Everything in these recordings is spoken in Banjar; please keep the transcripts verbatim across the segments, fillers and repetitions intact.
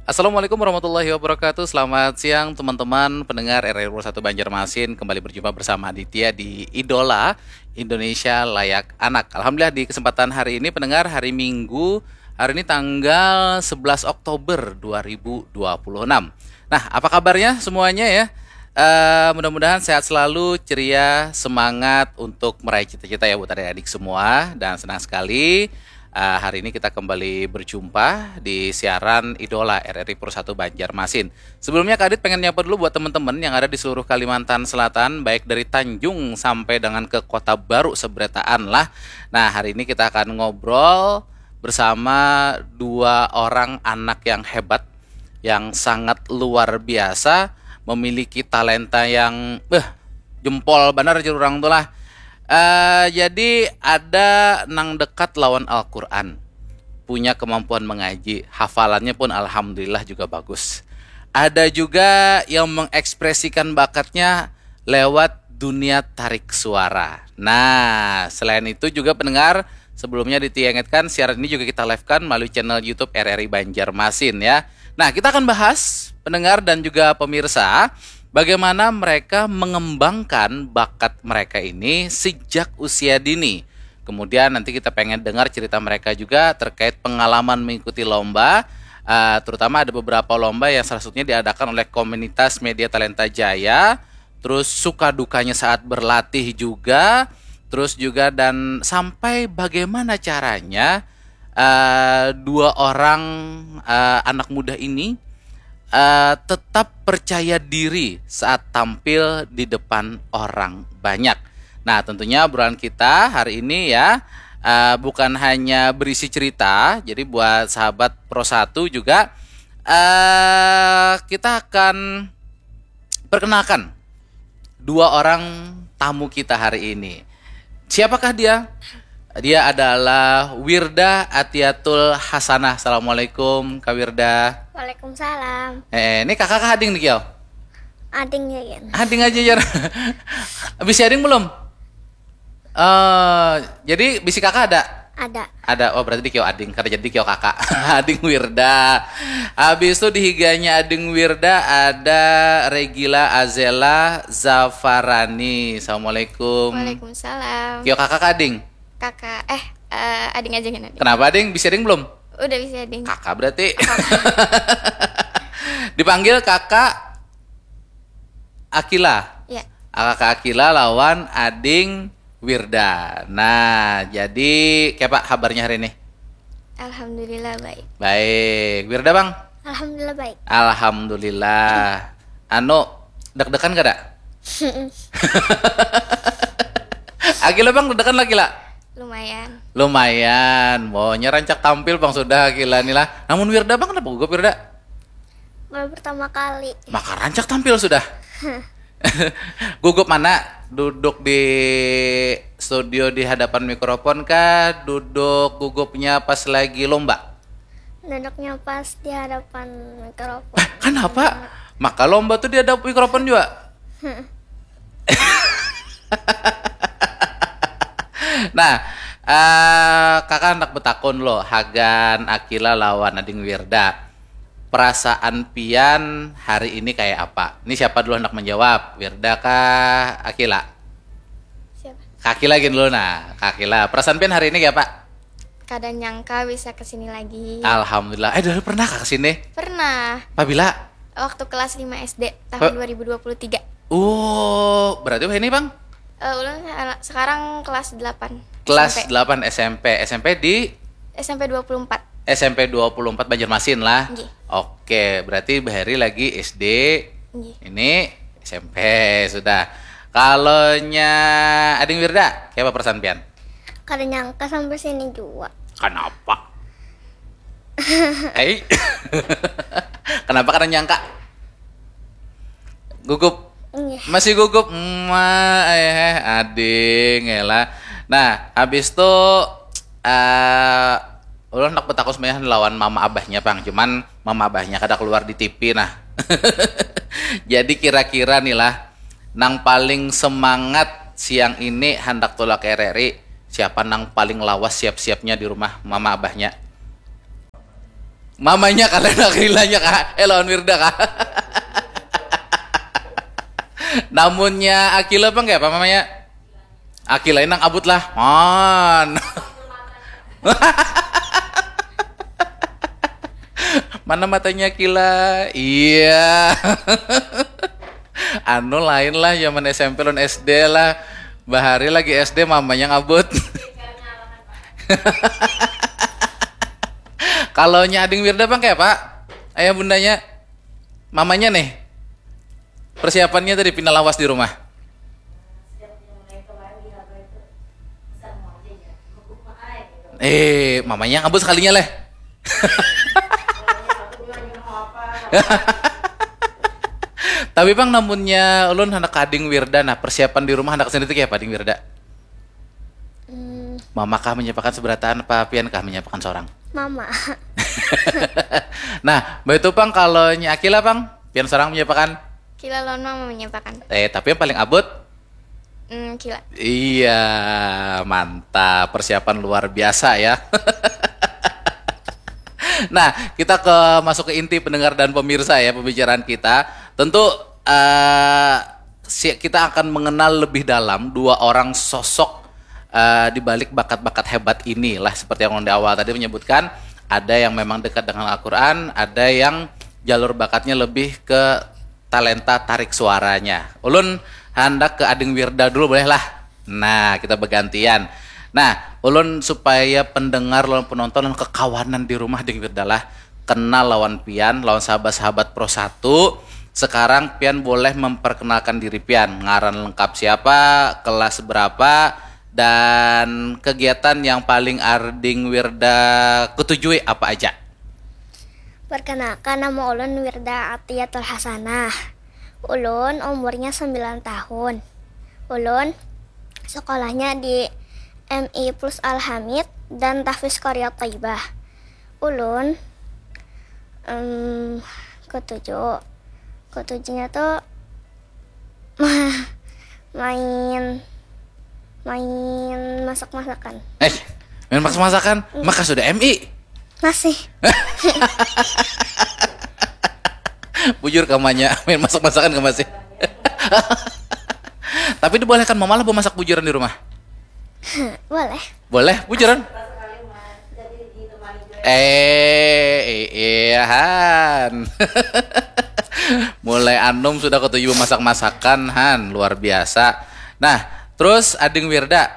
Assalamualaikum warahmatullahi wabarakatuh. Selamat siang teman-teman pendengar R R I Pukul satu Banjarmasin. Kembali berjumpa bersama Aditya di Idola Indonesia Layak Anak. Alhamdulillah, di kesempatan hari ini pendengar, hari Minggu, hari ini tanggal sebelas Oktober dua ribu dua puluh enam. Nah, apa kabarnya semuanya ya? Eh, mudah-mudahan sehat selalu, ceria, semangat untuk meraih cita-cita ya buat adik-adik semua. Dan senang sekali, eh, hari ini kita kembali berjumpa di siaran Idola R R I Pukul satu Banjarmasin. Sebelumnya, Kak Adit pengen nyapa dulu buat teman-teman yang ada di seluruh Kalimantan Selatan, baik dari Tanjung sampai dengan ke Kota Baru seberataan lah. Nah, hari ini kita akan ngobrol bersama dua orang anak yang hebat, yang sangat luar biasa, memiliki talenta yang, beh, jempol banar jar urang tu lah. Eh, jadi ada nang dekat lawan Al-Quran, punya kemampuan mengaji, hafalannya pun alhamdulillah juga bagus. Ada juga yang mengekspresikan bakatnya lewat dunia tarik suara. Nah, selain itu juga pendengar, sebelumnya diingatkan, siaran ini juga kita live-kan melalui channel YouTube R R I Banjarmasin ya. Nah, kita akan bahas, pendengar dan juga pemirsa, bagaimana mereka mengembangkan bakat mereka ini sejak usia dini. Kemudian nanti kita pengen dengar cerita mereka juga terkait pengalaman mengikuti lomba. Eh, terutama ada beberapa lomba yang salah satunya diadakan oleh komunitas Media Talenta Jaya. Terus suka dukanya saat berlatih juga. Terus juga dan sampai bagaimana caranya, eh, dua orang, eh, anak muda ini, eh, tetap percaya diri saat tampil di depan orang banyak. Nah, tentunya obrolan kita hari ini ya, eh, bukan hanya berisi cerita. Jadi buat sahabat Pro satu juga, eh, kita akan perkenalkan dua orang tamu kita hari ini. Siapakah dia? Dia adalah Wirda Atiatul Hasanah. Assalamualaikum, Kak Wirda. Waalaikumsalam. Eh, ini kakak kah ading nih, Kio? Ading ya, Yan. Ading aja, Jar. Bisi ading belum? Eh, jadi bisi kakak ada? Ada. Ada. Oh, berarti di Kio ading. Kada jadi Kio kakak. Ading Wirda. Habis itu di higanya ading Wirda ada Regila Azela Zafarani. Assalamualaikum. Waalaikumsalam. Kio kakak kah ading? Kakak, eh, eh, ading aja kan ading. Kenapa ading? Bisi ading belum? Udah bisi ading. Kakak berarti. Dipanggil kakak Akila. Ya, Kakak Akila lawan ading Wirda. Nah, jadi kayak apa kabarnya hari ini? Alhamdulillah baik. Baik, Wirda bang. Alhamdulillah baik. Alhamdulillah. Anu, deg-degan kada? Akila bang, deg-degan lah Kila. Lumayan. Lumayan, maunya rancak tampil bang sudah Akila nih lah. Namun Wirda bang, kenapa gugup Wirda? Baru pertama kali. Maka rancak tampil sudah. Gugup mana? Duduk di studio di hadapan mikrofon kah? Duduk gugupnya pas lagi lomba? Duduknya pas di hadapan mikrofon. Kenapa? Maka lomba tuh di hadapan mikrofon juga. Nah, eh, kakak hendak betakun loh, hagan Akila lawan Ading Wirda. Perasaan pian hari ini kayak apa? Ini siapa dulu hendak menjawab? Wirda kah Akila? Siapa? Kak Akila gini dulu nah, Kak Akila. Perasaan pian hari ini kayak apa? Kada nyangka bisa kesini lagi. Alhamdulillah. Eh, dulu pernah kah kesini? Pernah. Pabila? Waktu kelas lima S D tahun dua ribu dua puluh tiga. Oh, berarti wah ini bang? Eh, ulun se- sekarang kelas delapan. Kelas S M P. delapan S M P. S M P di S M P dua puluh empat. S M P dua puluh empat Banjarmasin lah. Nggih. Oke, berarti bahari lagi S D. Nggih. Ini S M P sudah. Kalau nya Ading Wirda, kayak apa perasaan pian? Kada nyangka sampai sini juga. Kenapa? Eh, kenapa kada nyangka? Gugup. Iya. Masih gugup. Ma, eh, ading, elah. Nah, habis itu eh ulun hendak betakun sebenarnya lawan mama abahnya pang, cuman mama abahnya kada keluar di T V nah. Jadi kira-kira nih lah, nang paling semangat siang ini handak tulak R R I, siapa nang paling lawas siap-siapnya di rumah mama abahnya? Mamanya kalian Akilanya kah? Eh, lawan Wirda kah? Namunnya Akila apa enggak apa mamanya? Akila nang abut lah. Man. Mana matanya Akila? Iya. Anu lain lah zaman S M P lawan S D lah. Bahari lagi S D mamanya ngabut. Kalau nya ading Wirda bang kayak apa? Ayah bundanya, mamanya nih. Persiapannya tadi pina lawas di rumah. Eh, mamanya ngabut sekalinya leh. Tapi bang namunnya ulun hendak kading Wirda, nah persiapan di rumah hendak sendiri kayak apa ding Wirda? Hmm. Mama kah menyiapkan seberataan apa pian kah menyiapkan seorang? Mama. Nah, begitu pang kalau nyi Akila pang, pian seorang menyiapkan? Kila lawan mama menyiapkan. Eh, tapi yang paling abut? Hmm, kila. Iya, mantap. Persiapan luar biasa ya. Nah, kita ke masuk ke inti pendengar dan pemirsa ya pembicaraan kita. Tentu uh, kita akan mengenal lebih dalam dua orang sosok uh, di balik bakat-bakat hebat ini lah seperti yang di awal tadi menyebutkan ada yang memang dekat dengan Al-Quran, ada yang jalur bakatnya lebih ke talenta tarik suaranya. Ulun handak ke Ading Wirda dulu boleh lah. Nah, kita bergantian. Nah, ulun supaya pendengar lawan penonton dan kekawanan di rumah Ding Wirda lah kenal lawan pian, lawan sahabat-sahabat Pro satu. Sekarang pian boleh memperkenalkan diri pian, ngaran lengkap siapa, kelas berapa, dan kegiatan yang paling Ading Wirda ketujui apa aja. Perkenalkan, nama ulun Wirda Atiatul Hasanah. Ulun umurnya sembilan tahun. Ulun sekolahnya di M I Plus Alhamid dan Tahfiz Korea Taibah. Ulun um, ketujuh. Ketujuhnya tuh main main masak-masakan. Eh, main masak-masakan? Hmm. Maka sudah M I? Masih. Bujur kamanya, main masak-masakan ke masih. Tapi dibolehkan mama lah masak bujuran di rumah? Boleh. Boleh, bujuran? Eh, iya han. Mulai anum sudah ketujuh masak-masakan han, luar biasa. Nah, terus Ading Wirda,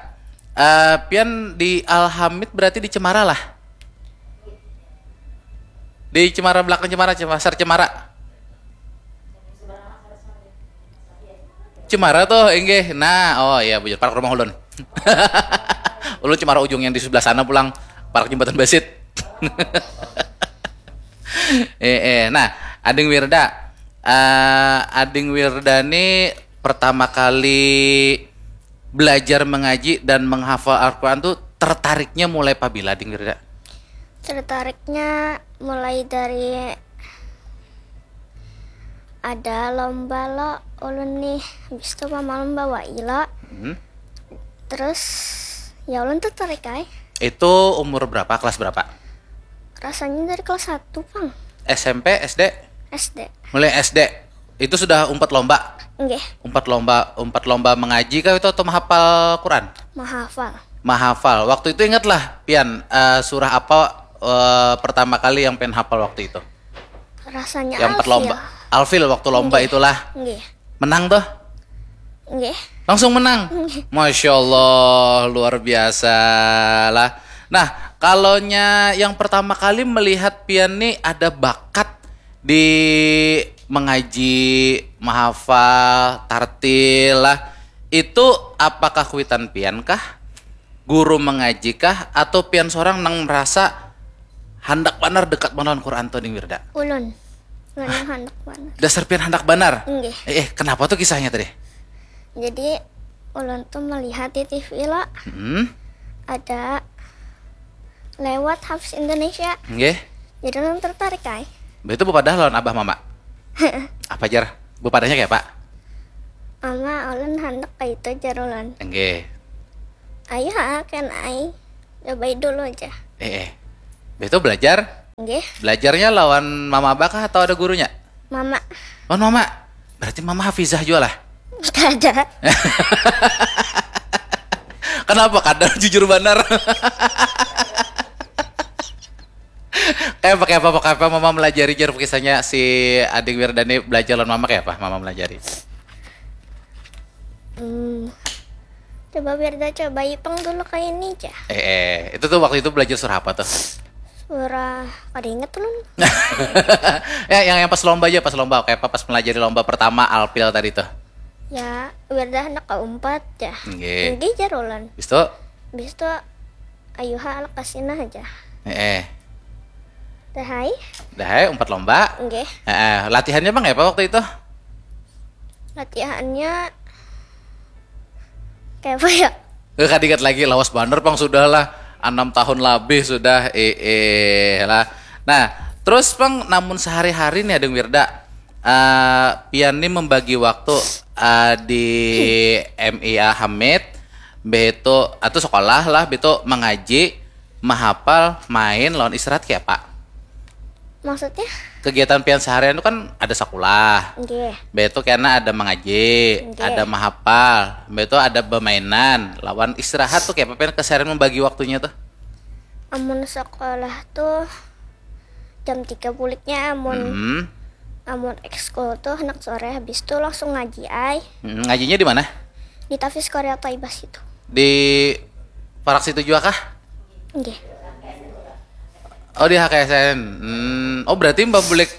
uh, pian di Alhamid berarti di Cemara lah? Di Cemara belakang Cemara, Pasar Cemara. Cemara tuh, inggih. Nah, oh iya bujur, parak rumah ulun. Ulun Cemara ujung yang di sebelah sana pulang, parak jembatan Basit. eh, eh, nah, Ading Wirda. Uh, Ading Wirda nih pertama kali belajar mengaji dan menghafal Al-Quran tuh tertariknya mulai pabila Ding Wirda? Tertariknya mulai dari ada lomba lo ulun nih, habis itu mama lomba wai lo. Hmm. Terus ya ulun tertarik ay. Itu umur berapa, kelas berapa? Rasanya dari kelas satu pang. S M P, S D? S D. Mulai S D. Itu sudah umpat lomba? Nggih. Umpat lomba, umpat lomba mengaji kah itu atau menghafal Quran? Menghafal. Menghafal. Waktu itu ingatlah pian uh, surah apa uh, pertama kali yang pian hafal waktu itu? Rasanya yang empat lomba. Alfil waktu lomba Nggih. Itulah. Nggih. Menang tuh? Nggih. Langsung menang. Nggih. Masya Allah, luar biasa lah. Nah, kalaunya yang pertama kali melihat pian nih ada bakat di mengaji, menghafal, tartil lah. Itu apakah kuitan pian kah? Guru mengaji kah? Atau pian seorang nang merasa handak banar dekat banar Quran tuh Ding Wirda? Ulun. Ulun yang handak banar. Dasar pian handak banar? Inggih. Eh, eh, kenapa tuh kisahnya tadi? Jadi ulun tuh melihat di T V lah. Hmm. Ada lewat Hafiz Indonesia. Nggih. Jadi ulun tertarik ay. Begitu bepadah lawan abah mama. Apa jar? Bepadahnya kayak apa? Mama, ulun handak kayak itu jar ulun. Nggih. Ayo ha, kan ay. Coba dulu aja. Eh, eh. Begitu belajar? Nggih. Belajarnya lawan mama abah kah atau ada gurunya? Mama. Lawan mama. Berarti mama hafizah juga lah. Kada. Kenapa kadang jujur benar? Kayak apa, kayak apa, kayak apa mama melajari jar kisahnya si Ading Wirdani belajar lawan mama, kayak apa mama melajari? Hmm. Coba Wirda coba ipang dulu kayak ini aja. Eh, eh, itu tuh waktu itu belajar surah apa tuh? Surah, kada inget ulun. Ya, yang yang pas lomba aja, pas lomba kayak apa pas melajari lomba pertama Alpil tadi tuh. Ya, Wirda anak keempat ya. Nggih. Nggih jar ulun. Bis itu, Bis itu ayuha alak kasinah aja. eh, eh. Dahai. Dah, eh, umpat lomba. Nggih. Eh, eh, latihannya bang kayak apa waktu itu? Latihannya kayak apa ya? Eh, kada ingat lagi, lawas banar pang sudah lah. Enam tahun lebih sudah, eh, eh, lah. Nah, terus pang namun sehari-hari nih Ading Wirda, eh, pian nih membagi waktu eh, di M I A Hamid, beto atau sekolah lah, beto mengaji, menghafal, main, lawan istirahat kayak apa? Maksudnya? Kegiatan pian seharian itu kan ada sekolah, Nggih. beto kena ada mengaji, Nggih. Ada menghafal, beto ada bermainan, lawan istirahat tuh kayak apa pian keseharian membagi waktunya tuh? Amun sekolah tuh jam tiga buliknya, amun Hmm. Amun ekskul tuh anak sore habis tuh langsung ngaji ai. Hmm, ngajinya di mana? Di Tafis Korea Taibas itu. Di parak situ juga kah? Nggih. Oh, di H K S N. Hmm, oh, berarti Mbak bulik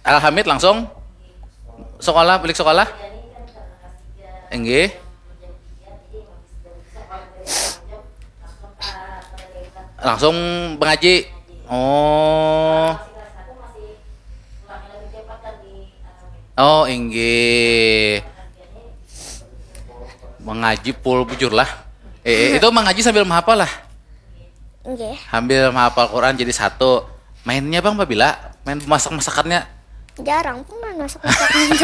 Alhamid langsung sekolah, bulik sekolah? Enggih. Langsung mengaji. Oh. Oh, inggih. Mengaji full bujur lah. Eh, itu mengaji sambil menghafal lah. Nggih. Sambil menghafal Quran jadi satu. Mainnya bang, pabila main masak-masakannya? Jarang pun masak-masakan.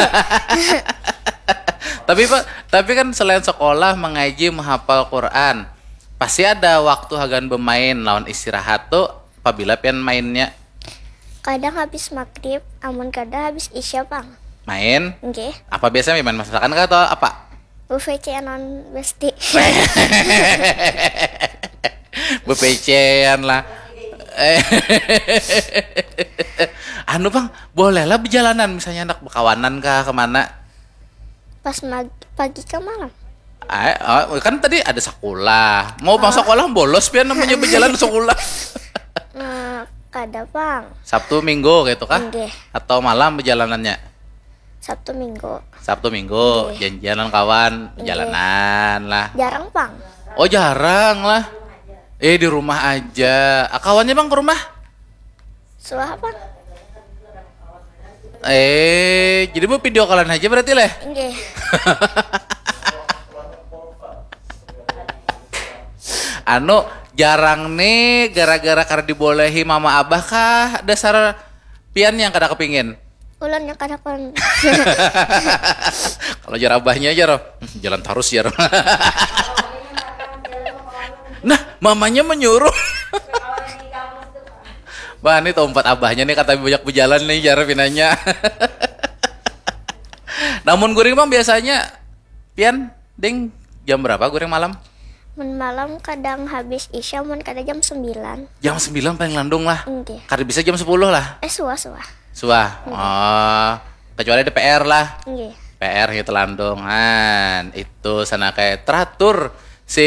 Tapi pak, tapi kan selain sekolah, mengaji, menghafal Quran, pasti ada waktu hagan bermain lawan istirahat tuh. Pabila pian mainnya? Kadang habis maghrib, amun kada habis isya pang. Main? Nggih. Apa biasanya main masakan kah atau apa? Buffet cenon besti. Bepecean lah. Eh. Anu bang, boleh lah berjalanan misalnya anak berkawanan kah kemana? Pas mag pagi ke malam. Ah, oh, kan tadi ada sekolah. Mau bang sekolah bolos pian namanya berjalan sekolah. Nah, kada pang. Sabtu Minggu gitu kah? Nggih. Atau malam perjalanannya? Sabtu Minggu. Sabtu Minggu, janjian lawan kawan, perjalanan lah. Jarang pang. Oh jarang lah. Eh di rumah aja. Ah, kawannya bang ke rumah? Suah apa? Eh, jadi mau video callan aja berarti leh. Nggih. Anu, jarang nih gara-gara karena dibolehi mama abah kah dasar pian yang kada kepingin? Ulun yang kada kon. Kalau jar abahnya aja roh, jalan terus ya roh. Nah, mamanya menyuruh. Wah, ini tempat abahnya nih kata banyak berjalan nih jar pinanya. Namun guring bang biasanya pian ding jam berapa guring malam? Mun malam kadang habis isya, mun kada jam sembilan. Jam sembilan paling landung lah. Nggih. Kada bisa jam sepuluh lah. Eh, suah, suah. Suah. Oh, kecuali ada P R lah. Nggih. P R gitu landung. Han, itu sana kayak teratur si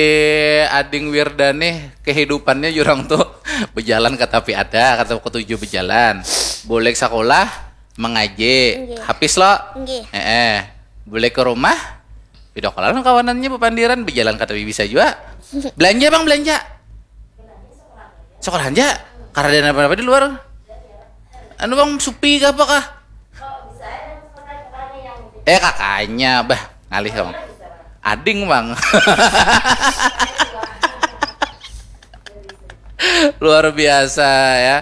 Ading Wirda nih kehidupannya jurang tuh berjalan ke tapi ada kata ketujuh berjalan. Boleh sekolah, mengaji. Nggih. Habis lo. Nggih. Eh, eh. Boleh ke rumah. Video callan kawanannya pepandiran berjalan kata bisa juga. Belanja bang belanja. Sekolah aja. Karena ada apa-apa di luar. Anu bang supi ke apa kah? Eh kakaknya bah ngalih bang. Ading bang. Luar biasa ya.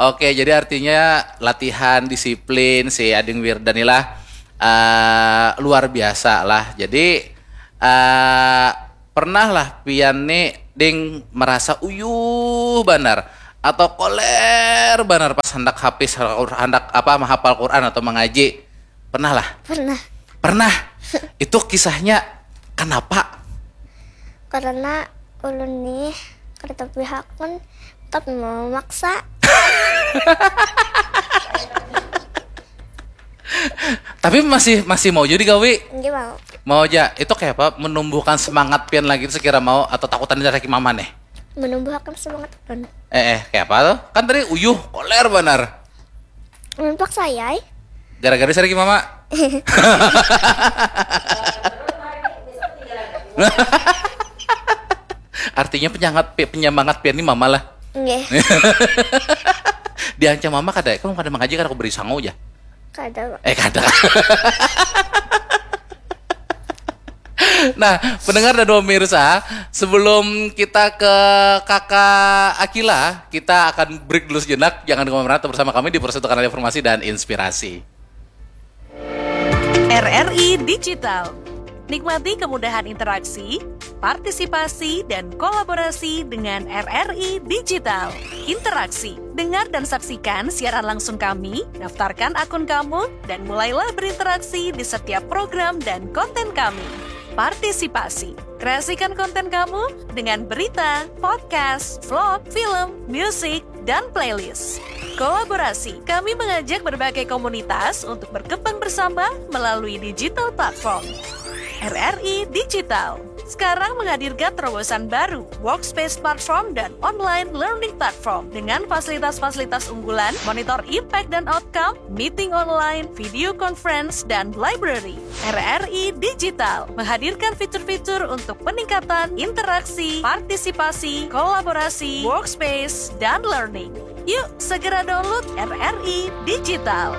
Oke, jadi artinya latihan disiplin si Ading Wirda nih lah eh, luar biasa lah. Jadi eh pernah lah pian nih ding merasa uyuh banar atau koler banar pas handak hapis, handak apa, mahapal Quran atau mangaji? Pernah lah? Pernah. Pernah. Itu kisahnya kenapa? Karena ulun nih kada tapihakan tapi memaksa. Tapi masih masih mau juga digawi? Nggih mau. Mau aja. Itu kayak apa, menumbuhkan semangat pian lagi itu sekira mau, atau takutan dari mama nih? Menumbuhkan semangat pun. Eh, eh, kayak apa tuh? Kan tadi uyuh, koler banar. Memaksa ya. Gara-gara dari mama. Artinya penyemangat, penyemangat pian ini mama lah. Nggih. Diancam mama kada, kamu kada mengaji karena aku beri sangu aja. Kada. Eh, kada. Nah, pendengar dan pemirsa, sebelum kita ke kakak Akila, kita akan break dulu sejenak. Jangan kemana-mana, tetap bersama kami di Persentuhan Informasi dan Inspirasi. R R I Digital. Nikmati kemudahan interaksi, partisipasi, dan kolaborasi dengan R R I Digital. Interaksi. Dengar dan saksikan siaran langsung kami, daftarkan akun kamu, dan mulailah berinteraksi di setiap program dan konten kami. Partisipasi. Kreasikan konten kamu dengan berita, podcast, vlog, film, musik, dan playlist. Kolaborasi. Kami mengajak berbagai komunitas untuk berkembang bersama melalui digital platform. R R I Digital. Sekarang menghadirkan terobosan baru, workspace platform dan online learning platform dengan fasilitas-fasilitas unggulan, monitor impact dan outcome, meeting online, video conference, dan library. R R I Digital menghadirkan fitur-fitur untuk peningkatan interaksi, partisipasi, kolaborasi, workspace, dan learning. Yuk, segera download R R I Digital.